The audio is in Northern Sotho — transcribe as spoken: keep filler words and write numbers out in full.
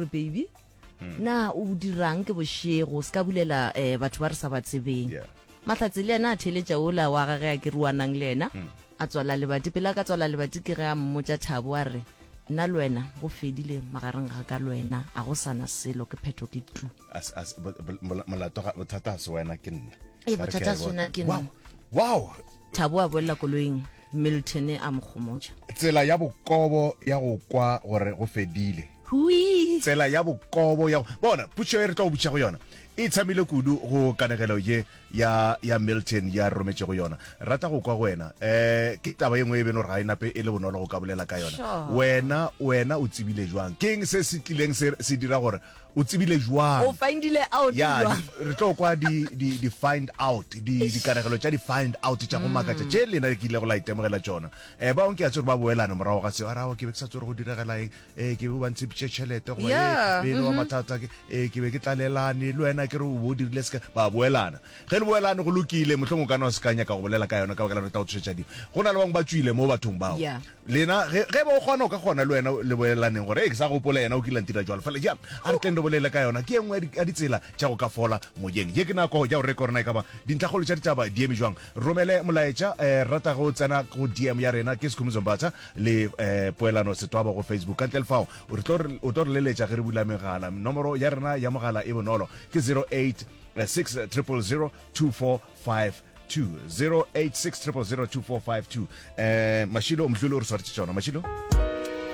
Gore baby, na o dirang ke bošego, se ka bulela um batho ba re sa ba tsebeng. Yeah. Mahlatse le yena a theletša ola wa gage a ke ruanang le yena, a tswala lebati. Pele a ka tswala lebati, ke ge a mmotša Thabo a re, nna le wena go fedile magareng ga ka le wena, a go sana selo, ke phetho, ke tu. As- as- bo- bo- mola- molato ga- bothata ga se wena, ke nna. Ee, Ka re bothata ke a ga se wena, bona. ke Wow. nna. Wow. Thabo a boela koloing, Milton a mo gomotša. Tsela ya bokobo ya go kwa gore go fedile. Hui. Tsela ya bokobo ya go bona. Potšo e re tlo go botša go yona e tshamile kudu go kanegelo ye ya ya Milton ya rometšego yona. Rata go kwa go wena, um ke taba ye nngwe e beno gore ga e nape e le bonolo go ka bolela ka yona. Sure. Wena wena o tsebile jwang? Ke eng se se tlileng se se dira gore o tsebile jwang? O findile out Ya. jwang? di- re tlo kwa di di di find out, di dikanegelo tša di find out tša go makatša tše lena ke ile go la itemogela tšona. um ba ke a tsore ba boelane morago ga seo, a rago ke be ke sa tsore go diregela eng, um ke be ba ntshepitše tšhelete goba Yeah, e be e le wa mathata, ke eh, ke be ke tlalelane le wena, ke re o bo o dirile seka. Ba boelana. Ge le boelane go lokile, mohlomong o ka no se ka nyaka go bolela ka yona ka baka la gore e tla go tsošetša dimo. Go na le bangwe ba tswile mo bathong bao. Yeah. Lena ge ge ba o kgona, o ka kgona le wena le boelaneng gore e ke sa gopola yena o kile a ntira jwalo fela. Ja, a re tleng re bolele ka yona, ke e nngwe ya di- ya ditsela tša go ka fola moyeng. Ye ke nako ya go reka gore na e ka ba dintlhakgolo tša ditaba di eme jwang. Romele molaetša, um rata go tsena go D M ya rena, ke Sekhumbuzo Mbatha le um Poelano Setwaba go Facebook. Ka ntle le fao o re tlo re- o tlo re leletša ge re bula megala. Nomoro ya rena ya mogala e bonolo, ke zero eight six triple zero two four five two, zero eight six triple zero two four five two. eh Mashilo Mdluli o re swaretše tšona. Mashilo.